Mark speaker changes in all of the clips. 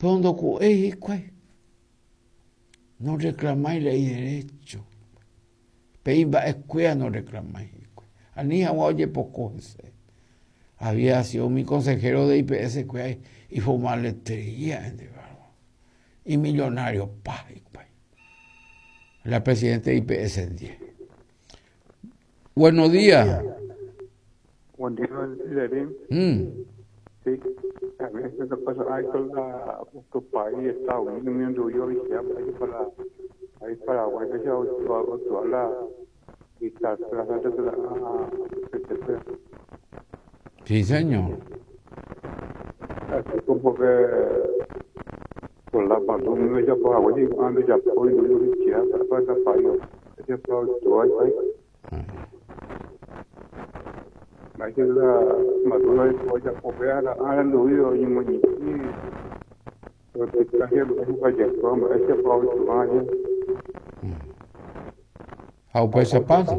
Speaker 1: Pero ndoku'éi hikuái. No reclamái la iderecho. Pe imba'ekuéra no reclamái hikuái. Ani hag̃ua ojepoko hese. Había sido umi consejero de IPS kuéra ifomaletereía imillonario pa hikuái. La presidente de IPS ndie. Buenos días.
Speaker 2: Buen día, Lerín. Sí, a veces lo pasa ahí con la, tu país, Estados Unidos, yo viajé para ahí Paraguay, que se toda la
Speaker 1: Sí, señor.
Speaker 2: Así como que por la pandemia ya Paraguay, ando ya por yo viajé para el país, ya para todo ahí.
Speaker 1: Ha upéicha pasa.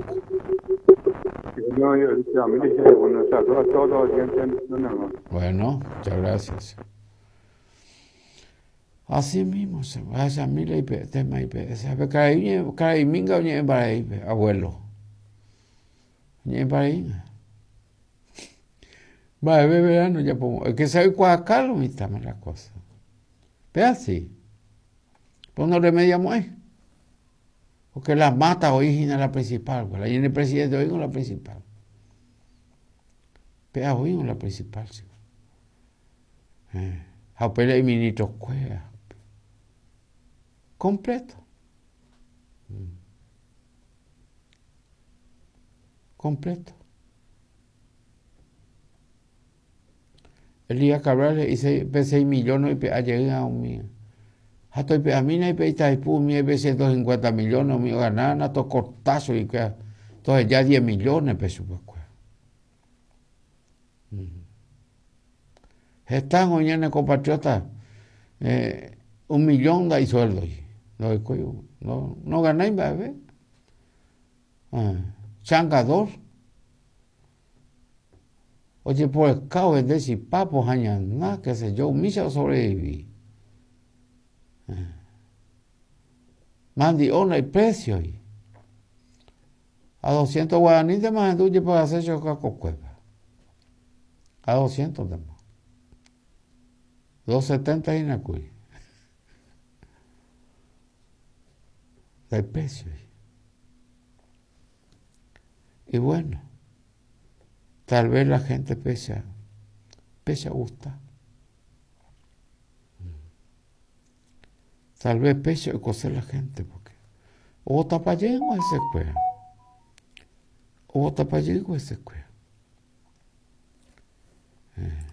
Speaker 1: Bueno, muchas gracias. Así mismo se va a mí la tema IPS. Karai minga oñe'ẽ mba'éipe, abuelo. Oñe'ẽ mba'éipe. Mba'eve verano japo, es que se oikuaaka lo mitãme la cosa. Pe así. Pues no remediamo'ãi. Porque la mata oĩ hína la principal, pues la ñane presidente oĩ con la principal. Pe oĩ con la principal, chico. Ha upe la iministro kuéra. Completo. Completo. Elías Cabral he'i pe 6 millones oipe'a jeýva umi ha toipe'amína ipe Itaipu umi pe 150 millones umi oganána tokorta chuguikuéra toheja 10 millones pe chupekuéra. Heta oĩ ñane compatriota eh, un millón ndaisuéldoi ndoikói no, no ganái mba'eve. Eh, changador Ojeporeka ovende chipa, pohã ñana, qué sé yo, umícha osobrevivi. Mandi'o ndaipresioi. A 200 guaraníntema ahendu ojepagase che okakokuépe. A 200 ntema. 270 hína kuri. Ndaipresioi. Y bueno, tal vez la gente pesa, pesa gusta. Tal vez pesa oikose la gente, porque ovotapajeýma hesekuéra. Ovotapajeýma hesekuéra. Eh.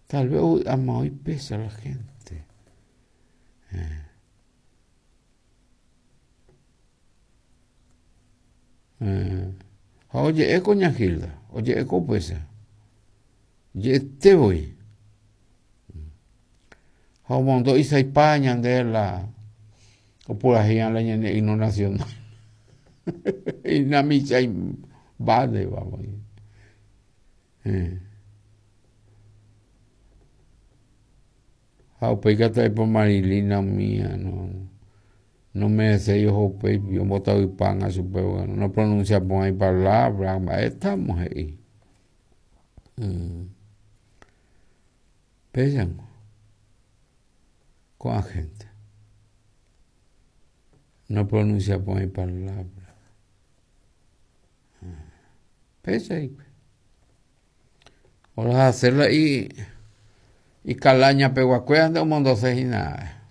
Speaker 1: Tal vez ovy'áma oĩ péicha la gente. Eh. Ha oje'e ko ña Hilda, oje'e ko upéicha. Je'ete voi. Ha omondo isaipa ñande la opurahéi la ñane himno nacional. Inamichai mba'éva voi. Ha upéi katu aipo Marilina umía no nomerecéi oho upéipi ombotavypág̃a chupe bueno no pronuncia porãi palabra mba'étamo he'i. Péichango ko'ã gente no pronuncia porãi palabra. Péicha hikuái. Orahase la ikaláña peguakuéra nde omondose hína.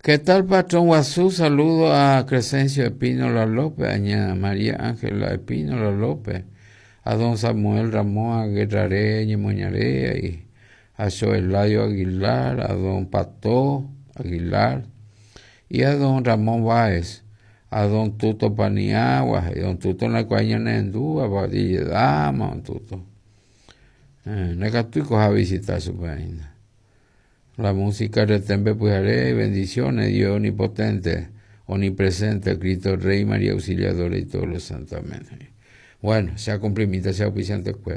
Speaker 1: ¿Qué tal, patrón guasu? Saludo a Crescencio Espínola López, a ña María Ángela Espínola López, a don Samuel Ramón Aguerrare ñemoñare, y a Xoeladio Aguilar, a don Pato Aguilar y a don Ramón Báez, a don Tuto Paniagua, he'i don Tuto ndaikuaái ñanerendúva, ijedáma don Tuto. Eh, ndaikatúiko javisita chupe aína. La música retémpe pyhare, bendiciones, Dios omnipotente, omnipresente, Cristo Rey, María Auxiliadora y todos los santos. Amén. Bueno, che acumplimíta che auspiciante kuéra.